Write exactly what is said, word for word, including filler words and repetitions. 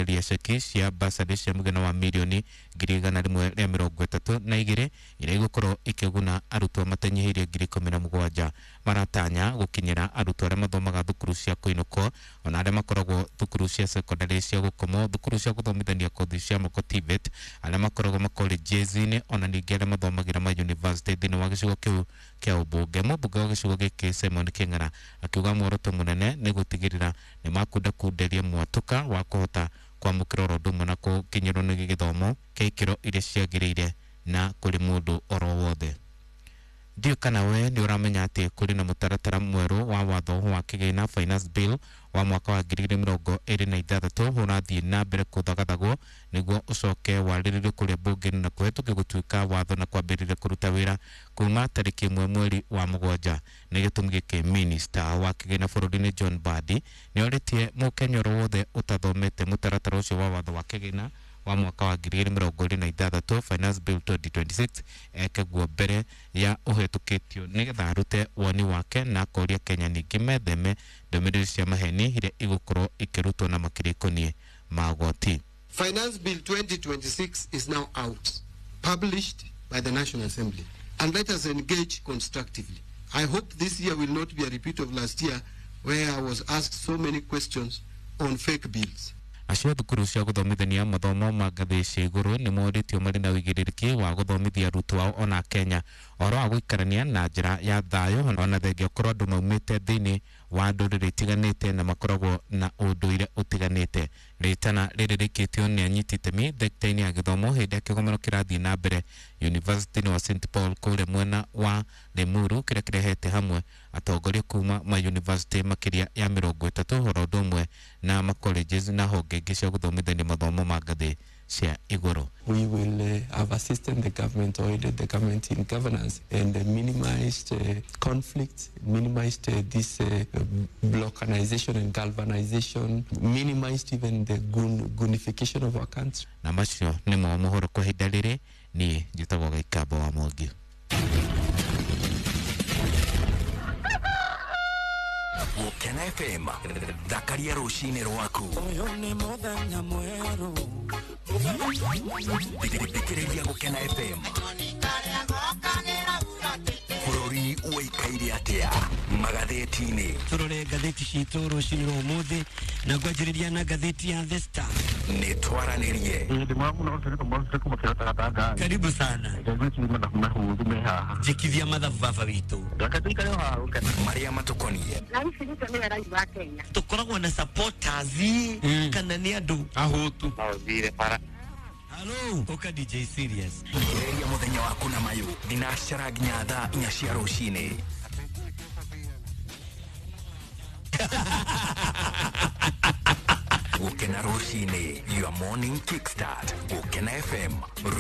Gũcokereria ceki cia basarĩ cia mũigana wa mirioni ngiri igana rĩmwe rĩa mĩrongo ĩtatũ na igĩrĩ iria igũkorwo ikĩguna arutwo matanyihĩirie ngiri ikũmi na mũgwanja. Maratanya gũkinyĩra arutwo arĩa mathomaga thukuru cia kũinũkwo ona arĩa makoragwo thukuru cia sekondari cia gũkomwo, thukuru cia gũthomithania kothi cia moko T V E T, arĩa makoragwo makolenji-inĩ ona ningĩ arĩa mathomagĩra ma university thĩinĩ wa gĩcigo kĩu kĩa ũmbunge. Mũmbunge wa gĩcigo gĩkĩ Simon Kĩng'ara akiuga muoroto mũnene nĩ gũtigĩrĩra nĩ makundakunderia mwatũka wa kũhota kwamũkĩra oro ũndũ ũmwe na gũkinyĩrwo nĩ gĩthomo kĩa ikĩro iria ciagĩrĩire na kũrĩ mũndũ oro wothe. Ndiũ kana we nĩ ũramenya atĩ kũrĩ na mũtaratara mwerũ wa watho wa kĩgĩna Finance Bill wa mwaka wa ngiri igĩrĩ mĩrongo ĩrĩ na ithathatũ ũrathiĩ na mbere kũthagathagwo nĩguo ũcoke warĩrĩrio kũrĩa mbunge-inĩ na kũhetũkio gũtuĩka watho na kwambĩrĩria kũruta wĩra kuma tarĩki ĩmwe mweri wa mũgwanja. Nĩ gĩtũmi gĩkĩ minista wa kĩgĩna bũrũri-inĩ John Mbadi nĩ orĩtie mũkenya oro wothe ũtathomete mũtaratara ũcio wa watho wa kĩgĩna wa mwaka wa ngiri igĩrĩ mĩrongo ĩrĩ na ithathatũ Finance Bill twenty twenty-six eke guo mbere ya ũhetũkĩtio nĩgetha arute woni wake na akoria Kenya ningĩ metheme ndũmĩrĩri cia maheni iria igũkorwo ikĩrutwo na makĩria ikoniĩ magoti. Finance Bill twenty twenty-six is now out, published by the National Assembly. And let us engage constructively. I hope this year will not be a repeat of last year, where I was asked so many questions on fake bills. Acio thukuru cia gũthomithania mathomo ma ngathĩ cia igũrũ nĩ morĩtio marĩ na ũigĩrĩrĩki wa gũthomithia arutwo ao ona Kenya ũhoro wa gũikarania na njĩra ya thayũ ona thengia ũkorwo andũ maumĩte thĩinĩ wa ndũrĩrĩ itiganĩte na makoragwo na ũndũire ũtiganĩte. Rĩtana rĩrĩ rĩkĩtio nĩ anyiti itemi thekita-inĩ ya gĩthomo hĩndĩ ya kĩgomano kĩrathiĩ na mbere University wa Saint Paul kũrĩa mwena wa Limuru kĩrĩa kĩrehete hamwe atongoria kuma ma university makĩria ya mĩrongo ĩtatũ oro ũndũ ũmwe na ma colleges na honge ingĩ cia gũthomithania mathomo ma ngathĩ cia igũrũ. We will uh, have assisted the government or aided the government in governance and uh, minimized uh, conflict, minimized uh, this uh, balkanization and galvanization, minimized even the goon, goonification of our country. Na macio nĩmo mohoro kwa ihinda rĩrĩ. Niĩ njĩtagwo Gaikambo wa Mwangi. Gũkena F M, thakaria rũcinĩ rwaku. Ũyũ nĩ mũthenya mwerũ. Thikĩrĩria Gũkena F M. Bũrũri ũikaire atĩa magathĩti-inĩ? Tũrore ngathĩti citũ rũcinĩ rwa ũmũthĩ na ngwanjĩrĩria na ngathĩti ya The Star. Nĩ twaranĩrie. Karibu sana. Njĩkithia mathabu baba witũ. Marĩa matũkoniĩ. Na ici Ruto nĩwe rais wa Kenya. Tũkoragwo na supporters kana nĩ andũ ahũtu. Halo ũka D J Serious. Thikĩrĩria mũthenya waku na mayũ thinacara nginya thaa inya cia rũcinĩ. Gũkena rũcinĩ, your morning kickstart. Gũkena F M, rwĩmbo.